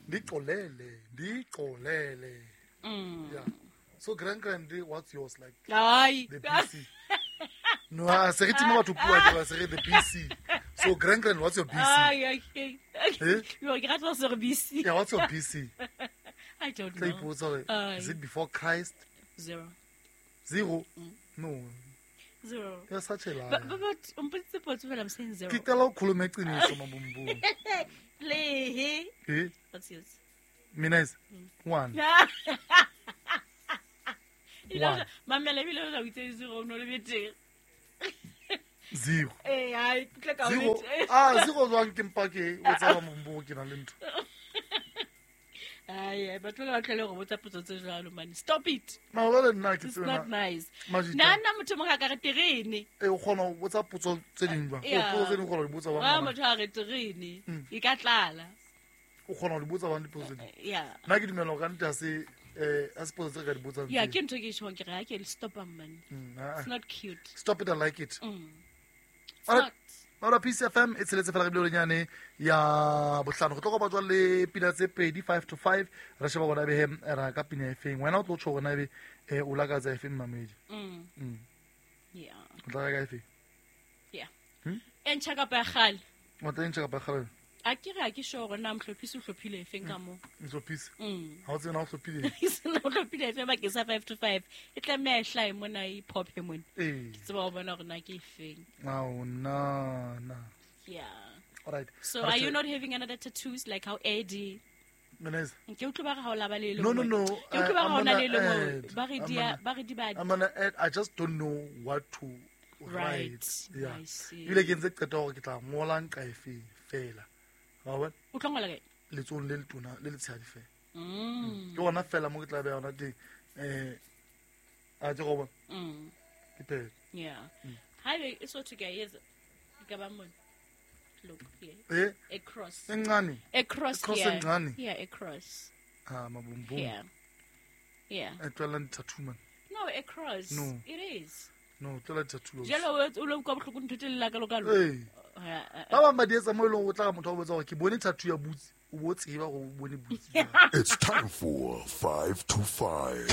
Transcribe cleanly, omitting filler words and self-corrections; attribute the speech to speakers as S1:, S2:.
S1: Ndixolele, ndixolele. Yeah. So grand grand, what's yours like?
S2: Ai.
S1: The BC. No, a se re tima batho puo a ke se re the BC. So grand grand, what's your BC?
S2: Ai, okay.
S1: Eh?
S2: Yo, ke rata se re BC.
S1: Yeah, what's your BC?
S2: I don't
S1: Tla
S2: know.
S1: ipotsa hore,
S2: Ai.
S1: is it before Christ?
S2: Zero.
S1: Zero? No.
S2: Zero.
S1: You're such a liar.
S2: But o mpoditse potso fela, I'm saying zero.
S1: Ke qala ho khuluma iqiniso mabumbulu.
S2: Lehe.
S1: Eh?
S2: What's yours?
S1: Mina is one. One.
S2: Mamela ebile o itse zero o no le betere.
S1: Zero.
S2: Eh, ai, ke tla ka o
S1: Zero.
S2: betere.
S1: Ah, zero jwang ke mpa ke o tsaba mabumbulu ke na le ntho.
S2: Ai, ai, batho ba tlele go botsa potso tse jwalo man. Stop it.
S1: Mara jwale nna ke
S2: It's
S1: tsebe
S2: not
S1: na.
S2: nice.
S1: Majita.
S2: Nna nna motho mongwe a ka re terene.
S1: Eh, o kgona ho botsa potso tse ding jwang? O
S2: Yeah.
S1: potso tse ding o kgona ho di botsa
S2: Wa
S1: bang.
S2: motho a re terene. E ka tlala.
S1: O kgona ho di botsa bang dipotso tse ding.
S2: Yeah.
S1: Nna ke dumela hore ka nnete ha se eh ha se potso tse re ka di botsang.
S2: Yeah,
S1: tse.
S2: ke ntho e ke e tjhong ke re ha ke stop man.
S1: Ah, ah.
S2: It's not cute.
S1: Stop it, I like it.
S2: It's
S1: Alright.
S2: not.
S1: Maola Peace FM e tsheletse fela re bile nyane ya bohlano go tlo go batswa le pina tse pedi 5 to 5 re sheba gona be ra ka pina e feng wena o tlo tjho gona be eh, o lakatsa e feng mamedi
S2: Yeah.
S1: o tla reka e feng
S2: Yeah. E ntjha kapa ya kgale.
S1: o tla e ntjha kapa kgale
S2: A ke re ha ke sure hore na mohlophisi o hlophile efeng ka moo.
S1: Mhlophisi ha o tsebe na o hlophile
S2: Sena o hlophile efeng bakeng sa 5 to 5. E tlameha e hlahe mona e pophe mona.
S1: ee
S2: Ke tseba ho bona hore na ke efeng.
S1: ao na na
S2: Yeah.
S1: alright
S2: So are you not having another tattoos like how Eddie?
S1: Meneza
S2: Ke utlwe ba re ha o laba le le
S1: No, no,
S2: nngwe.
S1: no.
S2: Ke utlwe ba re
S1: I'm
S2: ha o na
S1: gonna
S2: le le nngwe.
S1: add.
S2: Ba re
S1: I'm
S2: di a- ba re di ba
S1: I'm gonna add, I just don't know what to
S2: Right.
S1: write. Yeah.
S2: I see.
S1: Ebile ke ntse qeta hore ke tla ngola nqa efe fela. Wa bona?
S2: O tlo ngola kae?
S1: Letsohong le letona le letshehadi fela. Ke gona fela mo ke tla beha yona teng. Eh a ke go bona. Ke phetho.
S2: Yeah. Haebe e so thwe ke a etsa. E ka ba mona. Look here.
S1: Eh
S2: A cross.
S1: e ncane.
S2: A cross
S1: A cross
S2: here.
S1: e ncane.
S2: Yeah, a cross.
S1: Ah mabumbum.
S2: Yeah. Yeah.
S1: E tlohella di-tattoo man.
S2: No, a cross.
S1: No.
S2: It is.
S1: No, tlohella di-tattoo.
S2: Jalo o lo utlwa bohloko ntho tse lla kalo kalo.
S1: Ee. Ba bang ba di etsa mo e leng hore o tla re motho a o botsa hore ke bone tattoo ya butsi, o bo tseba hore o bone butsi.
S3: It's time for 5 to 5.